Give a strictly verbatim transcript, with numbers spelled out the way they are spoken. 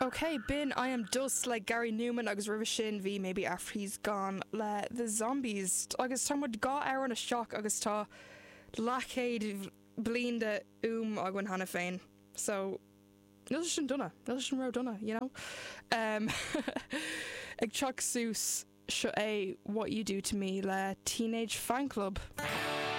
Ok, b'in I Am Dust le Gary Numan agus roimhe sin bhí Maybe After He's Gone le The Zombies agus tá muid dhá amhrán isteach agus tá leathchéad bliain de fhuaim againn cheana féin. So níl sin dona, níl sin ró-dona, you know? Um, ag teacht suas seo é What You Do to Me le Teenage Fanclub.